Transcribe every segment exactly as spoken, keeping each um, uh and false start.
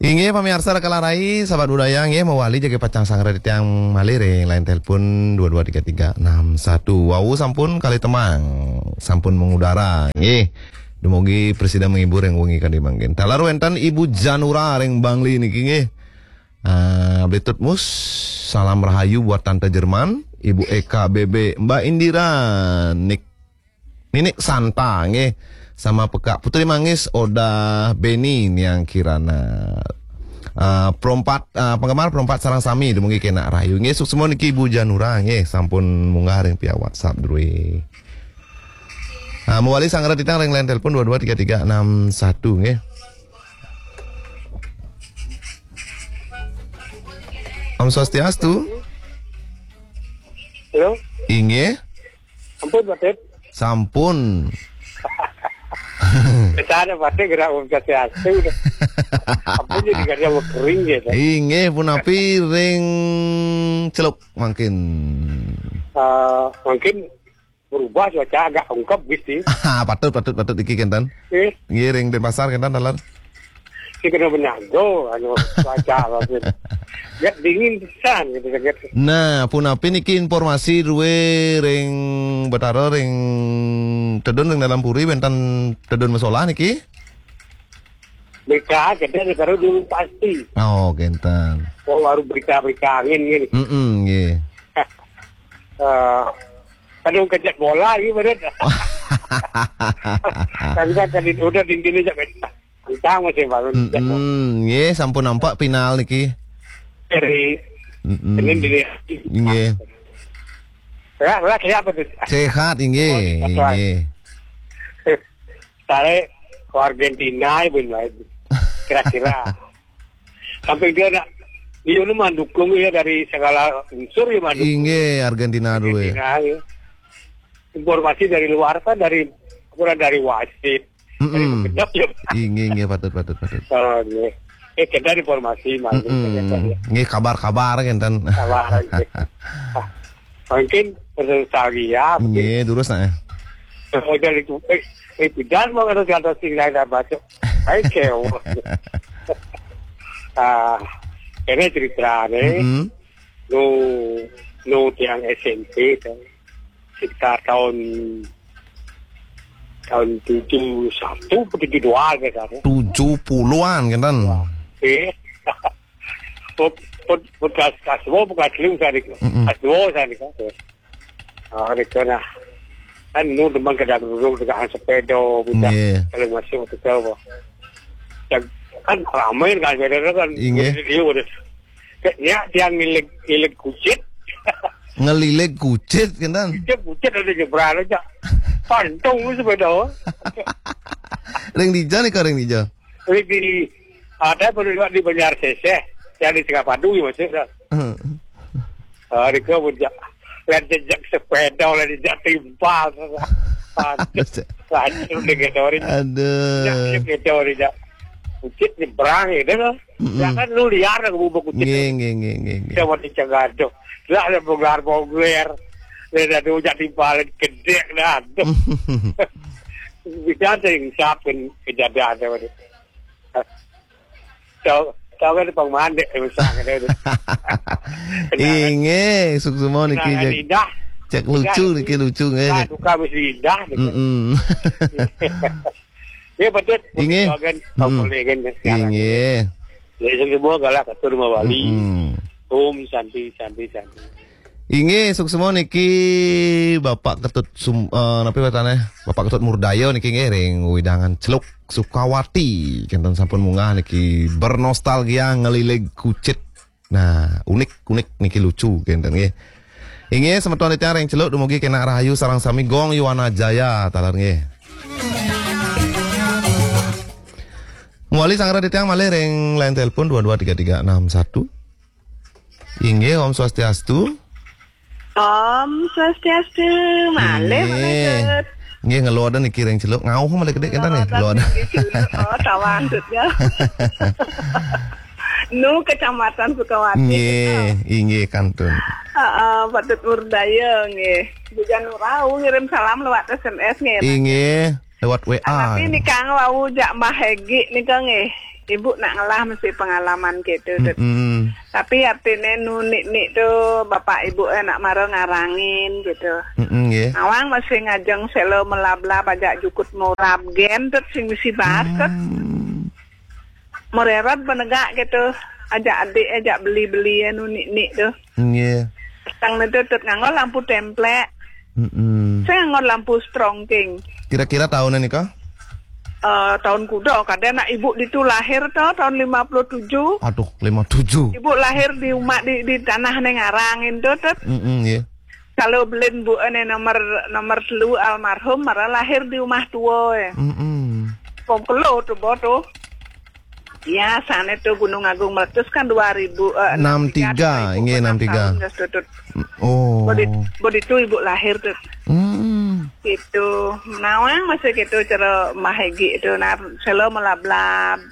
Inggih, pamiarsa Rekalarai, sahabat budaya, inggih, mawali jagi pacang sanggra titiang malih ring line telepon dua dua tiga tiga enam satu. Wau sampun kalih tembang, sampun mengudara, inggih. Dumugi prasida menghibur ring wengi kadi mangkin. Taler wénten Ibu Janura ring Bangli niki, inggih. Ah, Blitut Mus, salam rahayu buat Tante Jerman, Ibu Eka B B, Mbak Indira, Nik Ninik Santa, nggih. Sama Pekak Putri Manggis, Oda Beni, Niang Kirana. Ah, perompat, ah, penggemar perompat sareng sami, dumugi kenak rahayu. Nggih, suksma niki Ibu Janura, nggih, sampun munggah ring via WhatsApp drué. Ah, mawali sanggra titiang ring line telepon dua dua tiga tiga enam satu, nggih. Om Swastiastu. Halo? Inggih. Ampun, Pak Tit. Sampun. Biasanya Pak Tit gerak Om Swastiastu dah. Ampun, jadi gak ada kering gitu. Inggih, punapi ring Celuk mangkin. Eh, mungkin berubah cuaca agak ungkep gitu. Patut, patut, patut iki kénten. Eh, Nggih, ring Denpasar kénten taler. Sing kena menyago, anu, cuaca mungkin. Ya dingin pisan gitu, gitu. Nah, punapi niki informasi drué ring Betara, ring tedun ring dalam puri, wénten tedun masolah niki? Berita, kita taruh dulu pasti. Oh, kénten. Oh, baru berita-berita angin gini. Mm-mm, nggih. Eh, kadang kejat bola gitu, bener. Kan kan tadi udah di sini, jangan. Entah masih baru. Mm-mm, nggih, sampun nampak final niki. Dari Mm-mm. Senin dini. Nggih. Ya, ya, siapa tuh? Sehat, nggih, Oh, sehat, nggih. Tarik ke Argentina, ibu, kira-kira. Sampai dia nak, dia ni mah dukung ya dari segala unsur ya, mah dukung. Inggih, Argentina dulu ya. Argentina, ya. Informasi dari luar kan, dari, kurang dari wasit. Dari Mm-mm. Kedap ya. Inggih, inggih, patut, patut, patut. Oh, nggih. Eh, kita informasi, mah, Mm-mm. Nggih, kabar-kabar kan, tan. Kabar, nggih. Ah, mungkin menurut saya, Nggih, terus nah. Udah itu, eh, eh, pidan mau kata kata sing lain apa tu? Baik, ya. Ah, ini cerita ni. Mm-mm. Nu, nu tiang S M P tu. Sekitar tahun, tahun tujuh satu atau tujuh dua ke sana. Tujuh puluhan kan, tan? Eh. Put, put, put kelas, kelas dua, put kelas lima sana. Mm-mm. Kelas dua sana. Ah, di sana. Kan nu teman kadang duduk dengan sepeda, budak. Nggih. Kalau masuk tu tahu. Dan kan ramai dengan sepeda tu kan. Inggih. Dia udah. Nya dia ngilig, ngilig kucit. Ngelilig kucit, kan, tan? Dia kucit ada nyebrang aja. Pantung tu sepeda. Ring dija nika, ring dija? Ring di, ada baru juga di Banjar Seseh, yang di Tengah Padu ya, maksudnya. Hmm. Ah, dia kau pun jak, lihat jejak sepeda, lihat jejak timpal. Aduh, aduh, dia kata orang. Aduh. Ya, dia kata orang jak. Kucit nyebrang ya, dia. Mm-mm. Ya kan lu liar aku buka kucit. Nggih, nggih, nggih, nggih, nggih. Saya mau dicegah tu. Lah, ada bongkar-bongkar. Dia dah tu jadi paling gedek dah tu. Bisa ada yang siapin kejadian tu. Tahu, tahu kan pang mandek, eh, usah kena tu. Inggih, suksma niki, kenangan cek, indah. Cek lucu niki, lucu nggih. Nah, cek. Duka mesti indah niki. Mm-mm. Ya, betul. Inggih. Betul kan? Mm-mm. Tahu boleh kan sekarang. Inggih. Ya, semua galak atur mawali. Mm-mm. Om Santi, Santi, Santi. Inggih, suksma niki Bapak Ketut Sum-, eh, napi wastane? Bapak Ketut Murdaya niki nggih ring wewidangan Celuk Sukawati. Kenten sampun munggah niki bernostalgia ngelilig kucit. Nah, unik, unik niki lucu kenten nggih. Inggih, semeton titiang ring Celuk dumugi kenak rahayu sareng sami Gong Yuwana Jaya taler nggih. Mawali sanggra titiang malih ring line telepon dua dua tiga tiga enam satu. Inggih, Om Swastiastu. Om Swastiastu. Malih, Inggih. Malih, Tut. Inggih, ngeluaran niki ring Celuk. Ngauh malih gedé kita nih, ngeluaran. Niki Celuk. Oh, tawang, Tut, ya. Nu Kecamatan Sukawati. Nggih, inggih, kantun. Heeh, patut murdaya, nggih. Bujan Urau ngirim salam lewat S M S, nggih. Inggih, lewat W A. Tapi nika wau jak Mbah Hegi nika, nggih. Ibu nak ngelah mesti pengalaman gitu, Tut. Mm-mm. Tapi artinya nu nik-nik tu bapak ibu eh nak mara ngarangin gitu. Mm-mm, nggih. Nawang mesti ngajeng selo melab-lab ajak jukut murab gen, Tut, sing mesti bahas, Tut. Hmm. Mererot benegak gitu. Ajak adik, ajak beli-beli anu nik-nik tu. Nggih. Tang ni tu, Tut, nganggo lampu templek. Mm-mm. Saya nganggo lampu strongking. Kira-kira tahun nika? Eh, tahun kuda, kadang nak ibu ditu lahir tu tahun lima puluh tujuh. Aduh, lima tujuh. Ibu lahir di umak di, di tanah neng arang itu, Tut. Mm-mm, nggih. Kalau belin bu ane nomor, nomor telu almarhum, mara lahir di rumah tua, ya. Mm-mm. Pom kelo tu, bo tu. Ya, sana tu Gunung Agung meletus kan dua ribu, eh, enam tiga, enam tiga, tu, nggih, enam tiga. Tahun dah tu, Tut. Oh. Bodi, bodi tu ibu lahir tu. Hmm. Gitu. Nawang masih gitu cara mahegi itu. Nah, selo melablab.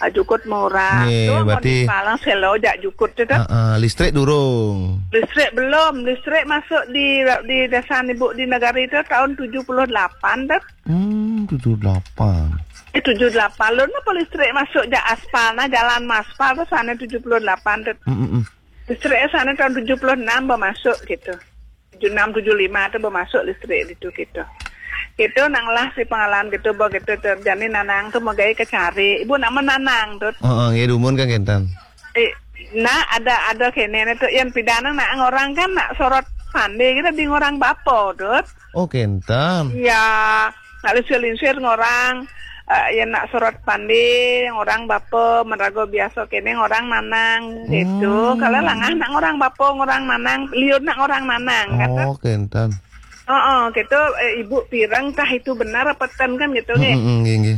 Ah, jukut murah. Nggih, tu berarti palang selo jak jukut tu, Tut. Ah, ah, listrik durung. Listrik belum. Listrik masuk di, di desa ibu di negara itu tahun tujuh puluh delapan, Tut. Hmm, tujuh delapan. Eh, tujuh delapan. Lo napa listrik masuk jak aspal, nah, jalan maspal tu sana tujuh puluh delapan, Tut. Hmm, hmm, hmm. Listrik sana tahun tujuh puluh enam bermasuk gitu. Tujuh enam, tujuh lima tu bermasuk listrik itu gitu. Itu nang lah si pengalaman gitu, bo gitu terjadi nanang tu megai kecari. Ibu nama nanang tu. Oh, oh, nggih, dumun kan kenten. Eh, nah, ada, ada kene tu yang pidana nak ngorang kan nak sorot pande kita di ngorang bapo tu. Oh, kenten. Ya, nak linsir-linsir ngorang, eh, yang nak sorot pande, ngorang bapo, merago biasa kene ngorang nanang gitu. Hmm. Kalau langah nak ngorang bapo, ngorang nanang, liur nak ngorang nanang, kata. Oh, kenten. Oh, oh, gitu, eh, ibu pirang tah itu benar apa ten kan gitu, nggih? Mm, mm, nggih, nggih.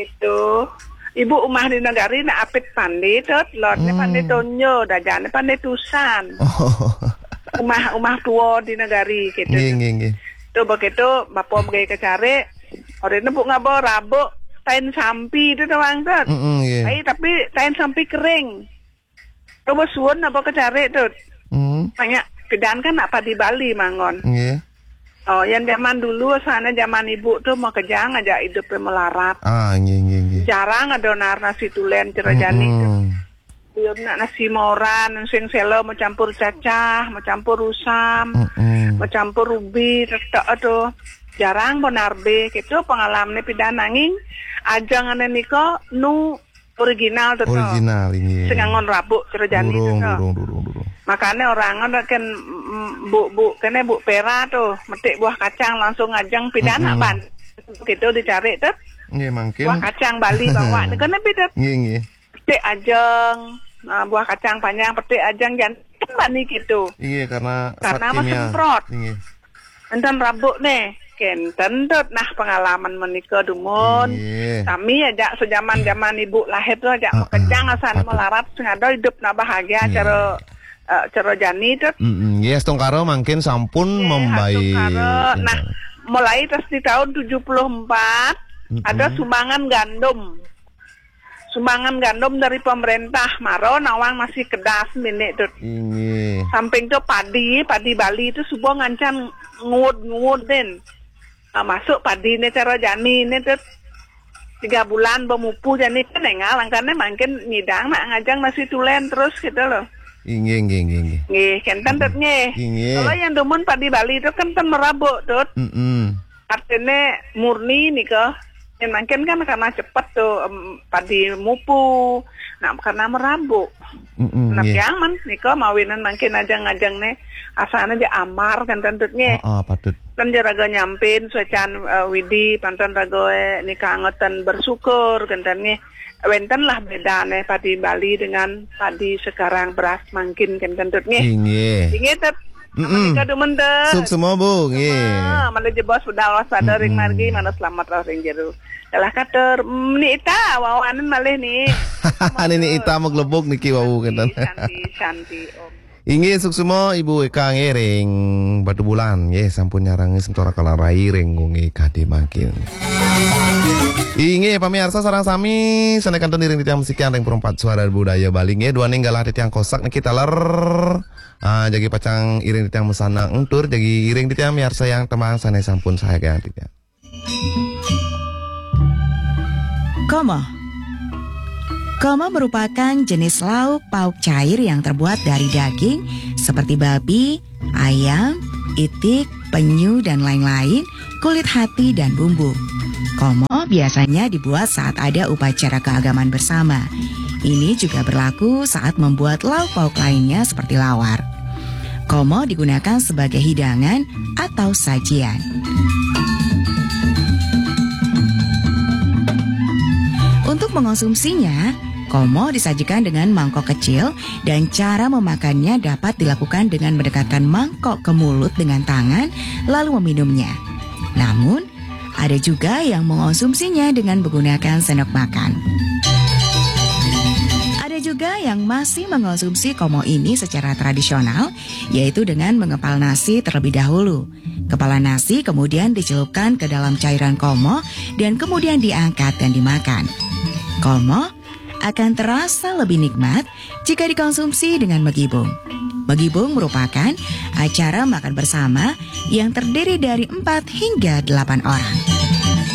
Itu. Ibu umah di negari nak apit pande, Tut. Lotnya pande tonyo, dajane pande tusan. Oh. Umah, umah tua di negari, gitu. Nggih, nggih, nggih. Tu begitu, bapo megai kecari, orangnya bu ngabo rabuk, tain sampi tu doang, Tut. Mm, mm, nggih. Ai, tapi tain sampi kering. Coba suun apa kecari tu. Hmm. Banyak kedan kan nak padi Bali manggon. Nggih. Oh, yang zaman dulu sana zaman ibu tu mau kejang aja hidupnya melarat. Ah, nggih, nggih, nggih. Jarang ada nar nasi tulen cerajani tu. Mm-mm. Dia nak nasi moran, sing selo mau campur cacah, mau campur usam, mm-mm, mau campur ubi, tetek tu. Jarang benar be, gitu pengalaman ni pidan nanging. Ajang ane niko nu original tu, to. Original, inggih. Sing nganggon rabuk, cara jani tu, to. Durung, durung, durung, durung. Makane orang kan, mm, bu, bu, kene bu pera tu, metik buah kacang langsung ngajeng pidana, mm-mm, ban. Kita dicari tu. Nggih, mangkin. Buah kacang Bali bawa ni kene pidat. Nggih, nggih. Petik ajeng, ah, buah kacang panjang, petik ajeng, jan bani gitu. Inggih, karena zat kimia. Karena semprot. Inggih. Enten rabuk nih, kenten tut nah pengalaman menika dumun. Nggih. Sami aja sejaman-jaman ibu lahir tu aja, ah, makejang, ah, asan patut. Melarat sing ada hidup na bahagia. Nggih. Cara, eh, cara jani tut. Mm-mm. Nggih, astungkara mangkin sampun. Nggih, membaik. Astungkara. Nah, mulai tas di tahun tujuh puluh empat, mm-mm, ada sumbangan gandum. Sumbangan gandum dari pemerintah, maro nawang masih kedas minik tu. Inggih. Samping tu padi, padi Bali tu suba ngancan nguud-nguud din. Ah, masuk padi ni cara jani ni tu. Tiga bulan bemupu jani kan engal, angkane mangkin nyidang nak ngajang nasi tulen terus gitu loh. Inggih, inggih, inggih, inggih. Nggih, kenten tut nggih. Inggih. Kalau yang dumun padi Bali tu kenten merabuk tut. Mm-mm. Artine murni nika, yen mangkin kan karena cepet tu, em, padi mupu, nak karena merabuk. Mm-mm, nggih. Nah, piaman nika mawinan mangkin ajeng-ajeng ne, asane je amar kan tentut nggih. Ah, ah, patut. Kan jeraga nyampin suecan, eh, widi, pantan raga, eh, nika angetan bersyukur kan ten nggih. Wenten lah bedane padi Bali dengan padi sekarang beras mangkin kan tentut nggih. Inggih. Inggih, tut. Mm-mm. Menika dumun, tut. Suksma, Bu, nggih. Ah, mana jebos budal waspada ring, mm-mm, margi, mana selamat lah ring jeru. Kalah katur, mm, ni ita, wawanen malih ni. Ni, ni ita maglebuk niki wau, santi, kenten. Santi, santi, Om. Inggih, suksma, Ibu Eka nggih ring Batubulan, nggih, sampun nyarangi sementara kalarai ring wengi kadi mangkin. Inggih, pamiarsa sareng sami, sane kantun iring titiang musikan ring Perempat Suara Budaya Bali, nggih, duaning galah titiang kosak niki taler. Ah, jagi pacang iring titiang masanang tur jagi iring titiang miarsayang tembang sane sampun sayagang titiang. Kama. Komo merupakan jenis lauk pauk cair yang terbuat dari daging seperti babi, ayam, itik, penyu, dan lain-lain, kulit hati, dan bumbu. Komo biasanya dibuat saat ada upacara keagamaan bersama. Ini juga berlaku saat membuat lauk pauk lainnya seperti lawar. Komo digunakan sebagai hidangan atau sajian. Untuk mengonsumsinya, komo disajikan dengan mangkok kecil dan cara memakannya dapat dilakukan dengan mendekatkan mangkok ke mulut dengan tangan lalu meminumnya. Namun, ada juga yang mengonsumsinya dengan menggunakan sendok makan. Ada juga yang masih mengonsumsi komo ini secara tradisional, yaitu dengan mengepal nasi terlebih dahulu. Kepala nasi kemudian dicelupkan ke dalam cairan komo dan kemudian diangkat dan dimakan. Komo akan terasa lebih nikmat jika dikonsumsi dengan megibung. Megibung merupakan acara makan bersama yang terdiri dari empat hingga delapan orang.